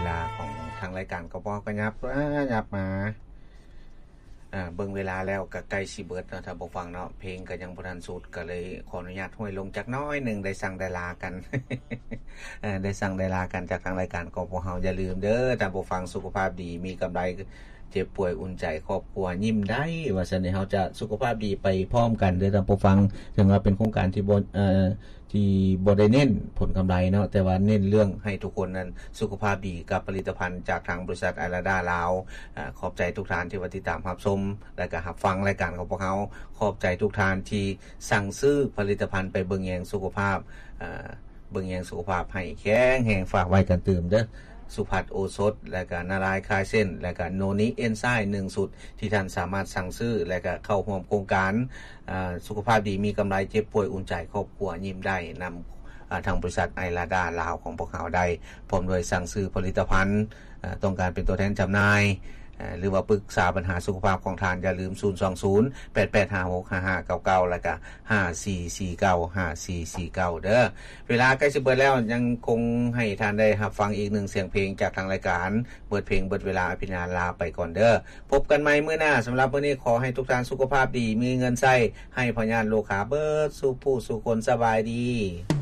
ລາຂອງທາງລາຍການກໍບໍ່ກະຫຍັບມາຫຍັບມາ ເບິ່ງເວລາແລ້ວກໍໃກ້ຊິເບິດເນາະ ທ່ານຜູ້ຟັງເນາະ ເພງກໍຍັງບໍ່ທັນສຸດ ກໍເລີຍຂໍອະນຸຍາດຫ້ວຍລົງຈັກໜ້ອຍໜຶ່ງ ໄດ້ສັ່ງໄດ້ລາກັນ ໄດ້ສັ່ງໄດ້ລາກັນຈາກທາງລາຍການຂອງພວກເຮົາ. ຢ່າລືມເດີທ່ານຜູ້ຟັງ ສຸຂະພາບດີມີກຳໄລ ເຈັບປ່ວຍອຸ່ນໃຈ ຄອບຄົວຍິ້ມໄດ້ ວ່າຊັ້ນເຮົາຈະສຸຂະພາບດີໄປພ້ອມກັນເດີທ່ານຜູ້ຟັງ. ເຖິງວ່າເປັນໂຄງການທີ່ບໍ່ ເອີ ທີ່ບໍ່ໄດ້ເນັ້ນຜົນກຳໄລເນາະ ແຕ່ວ່າເນັ້ນເລື່ອງໃຫ້ທຸກຄົນນັ້ນສຸຂະພາບດີກັບຜະລິດຕະພັນຈາກທາງບໍລິສັດໄອລາດາລາວ. ອາ ຂອບໃຈທຸກທ່ານທີ່ວ່າຕິດຕາມຮັບຊົມ ແລະກະຮັບຟັງລາຍການຂອງພວກເຮົາ. ຂອບໃຈທຸກທ່ານທີ່ສັ່ງຊື້ຜະລິດຕະພັນໄປເບິ່ງແຍງສຸຂະພາບ ອາ ເບິ່ງແຍງສຸຂະພາບໃຫ້ແຂງແຮງ. ຝາກໄວ້ກັນຕື່ມເດີ ສຸພັດໂອສົດ ແລະກະນາລາຍຄາຍເສັ້ນ ແລະກະໂນນິເອັນໄຊມ໌ໜຶ່ງຊຸດ ທີ່ທ່ານສາມາດສັ່ງຊື້ ແລະກະເຂົ້າຮ່ວມໂຄງການ ອາ ສຸຂະພາບດີມີກຳໄລ ເຈັບປ່ວຍອຸ່ນໃຈ ຄອບຄົວຍິ້ມໄດ້ ນຳ ອາ ທາງບໍລິສັດໄອລາດາລາວຂອງພວກເຮົາໄດ້ ພ້ອມດ້ວຍສັ່ງຊື້ຜະລິດຕະພັນ ອາ ຕ້ອງການເປັນຕົວແທນຈຳໜ່າຍ ອາ ຫຼືວ່າປຶກສາບັນຫາສຸຂະພາບຂອງທ່ານ ຢ່າລືມ ສູນສອງສູນ ແປດແປດຫ້າຫົກ ຫ້າຫ້າເກົ້າເກົ້າ ແລະກະ ຫ້າສີ່ສີ່ເກົ້າ ຫ້າສີ່ສີ່ເກົ້າ ເດີ. ເວລາໃກ້ຊິເບິດແລ້ວ ຍັງຄົງໃຫ້ທ່ານໄດ້ຮັບຟັງອີກໜຶ່ງສຽງເພງຈາກທາງລາຍການ. ເບິດເພງເບິດເວລາ ອາພິນາລາໄປກ່ອນເດີ. ພົບກັນໃໝ່ມື້ໜ້າ. ສຳລັບມື້ນີ້ ຂໍໃຫ້ທຸກທ່ານສຸຂະພາບດີ ມີເງິນໃຊ້ ໃຫ້ພະຍາດລູກຄ້າເບິດສູ່ຜູ້ສູ່ຄົນ. ສະບາຍດີ.